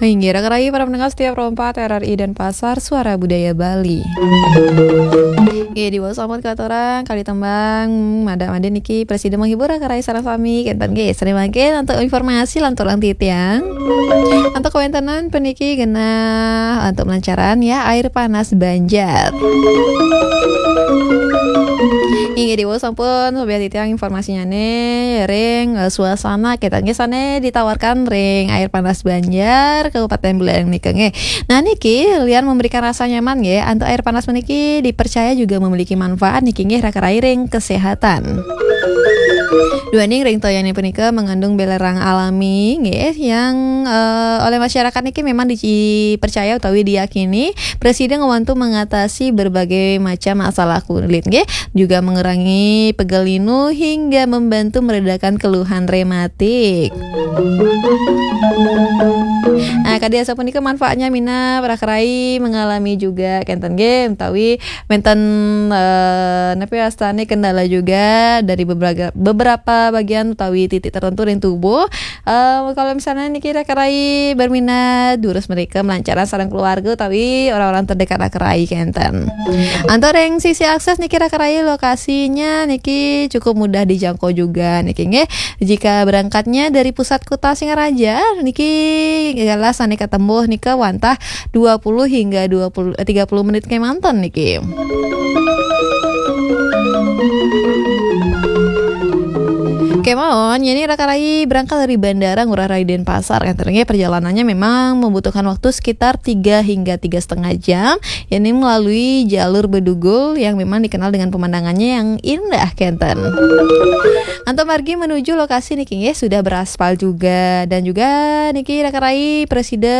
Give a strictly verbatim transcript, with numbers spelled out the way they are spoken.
Inggih, raka rayi para pendengar setia Pro empat R R I Denpasar, Suara Budaya Bali. Inggih, diwaos sampun katurang kalih tembang, mada-mada niki presida menghibur raka rayi sareng sami, kenten nggih. Sareng mangkin untuk informasi lanturang titiang. Untuk kawéntenan puniki genah untuk melancaran ya, air panas Banjar. Inggih, diwaos sampun, sobiah titiang informasinya nih, ring, eh, suasana kita nggih sané ditawarkan ring air panas Banjar, Kabupaten Buleleng nika nggih. Nah, niki lian memberikan rasa nyaman nggih, antuk air panas puniki dipercaya juga memiliki manfaat niki nggih raka rayi ring kesehatan. Duaning ring toyané punika mengandung belerang alami nggih, yang, eh, oleh masyarakat niki memang dipercaya utawi diyakini presida ngwantu mengatasi berbagai macam masalah kulit nggih, juga mengurangi pegal linu hingga membantu meredakan keluhan rematik. Nah, kadi asapunika manfaatnya minab raka rayi mengalami juga kenten nggih, utawi wénten, eh, napi wastané kendala juga dari beberapa, beberapa bagian utawi titik tertentu ring tubuh. Eh, kalau misalnya niki raka rayi berminat durus mrika melancaran sareng keluarga utawi orang-orang terdekat raka rayi kenten. Antuk ring sisi akses niki raka rayi lokasinya niki cukup mudah dijangkau juga niki nggih. Jika berangkatnya dari pusat kota Singaraja niki galah sané katempuh nika wantah dua puluh hingga dua puluh, eh, tiga puluh menit kémanten niki. Kémaon, yén raka rayi berangkat dari Bandara Ngurah Rai Denpasar, kenten nggih, perjalanannya memang membutuhkan waktu sekitar tiga hingga tiga setengah jam, yén melalui jalur bedugul yang memang dikenal dengan pemandangannya yang indah kenten. Antuk margi menuju lokasi niki nggih sudah beraspal juga, dan juga niki raka rayi presida